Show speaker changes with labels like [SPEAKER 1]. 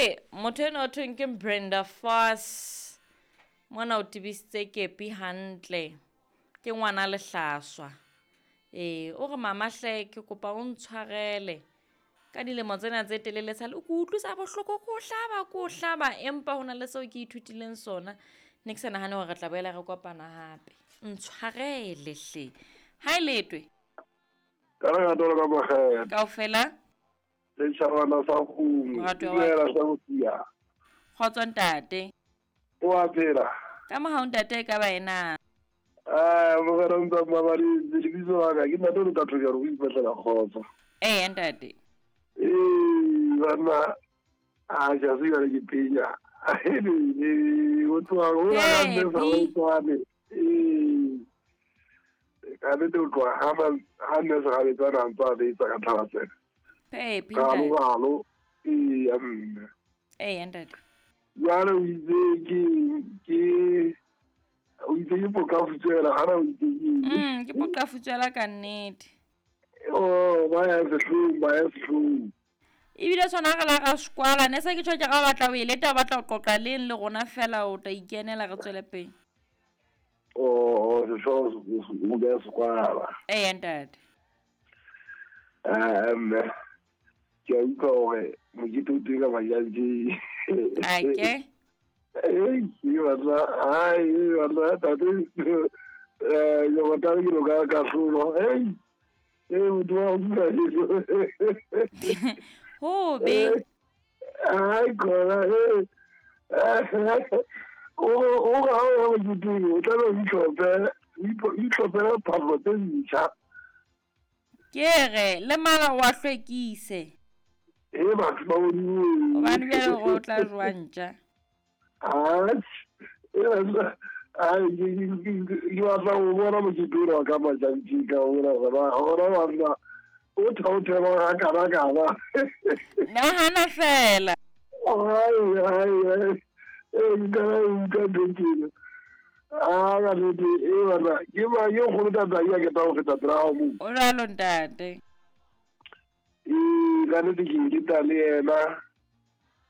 [SPEAKER 1] Ke motho enwa o thweng ke Brenda Fassie. Mona o tebisitse kepi hantle. Ke ngwana lehlaswa. Ee, o re mama hle ke kopa o ntshwarele ka dilemo tsena tse telele sale o ke utlwisa bohloko ko hlaba ko hlaba empa ho na le seo ke ithutileng sona. Ne ke sa nahane hore re tla boela re kopana hape. Ntshwarele hle. Ha e letwe.
[SPEAKER 2] Ka lerato le ka mogela.
[SPEAKER 1] Kaofela.
[SPEAKER 2] Setšhabana sa kgomo.
[SPEAKER 1] Moratuwa wa
[SPEAKER 2] Dumela sa bosia.
[SPEAKER 1] Kgotso ntate.
[SPEAKER 2] O a phela.
[SPEAKER 1] Ka mohau ntate e ka ba ena.
[SPEAKER 2] Ah, mogela o ntsa mmabaletse lebitso la ka ke ntate o le tatho jalo o ipatlela kgotso.
[SPEAKER 1] Ee ntate.
[SPEAKER 2] Ee, banna a ja se jale ke penya. Ee, o tloga o la ka mme sa o tswane. Ee. Ka nnete o tloga ha ha nne segabetsana a ntse a betsa ka tlhabatsela.
[SPEAKER 1] Pepi
[SPEAKER 2] Galo
[SPEAKER 1] ntate.
[SPEAKER 2] galo. Ee, ya mme.
[SPEAKER 1] Ee ntate.
[SPEAKER 2] Jwale o itse ke ke o itse ke pokafutswela gana o itse ke
[SPEAKER 1] Ke poqafutswela ka nnete.
[SPEAKER 2] Oh, ba ya sehlong, ba ya sehlong.
[SPEAKER 1] Ebile sona re la ra sekwala ne se ke tjho ke ga o batla o e leta o batla ho qoqa leng le rona fela o tla ikenela re tswele pele.
[SPEAKER 2] Oh, sehlooho o beha sekwala.
[SPEAKER 1] Ee ntate.
[SPEAKER 2] Ah, mme ke a utlwa hore mokete o teng ka majantjeng.
[SPEAKER 1] Ake.
[SPEAKER 2] Ei, ke batla, ai, ke batla tate, eh, ke batla ke lo ka kahlolo. Ei, ei, motho wa utlwa jeso.
[SPEAKER 1] Ho be.
[SPEAKER 2] Ai, khona, eh. O o ga o ya moketeng, o tlabe o itlhophela, o itlhophela phahlo tse ntjha.
[SPEAKER 1] Ke re le mala wa hlwekise.
[SPEAKER 2] E batho ba bone.
[SPEAKER 1] Hobane bjale hore o tla jowa ntja.
[SPEAKER 2] Atjhe, e batla ai ke batla ho bona mokete ona wa ka majantjeng ka ona gona gona banna o thaothelwa ga kana kana.
[SPEAKER 1] Nahana fela.
[SPEAKER 2] Ai ai ai e nka utlwa ntho tjena. A ka nnete e banna ke ba ke kgolo tata ya ke tla ho feta pela hao moo.
[SPEAKER 1] O jwalo ntate.
[SPEAKER 2] Ee, ka nnete ke leta le yena.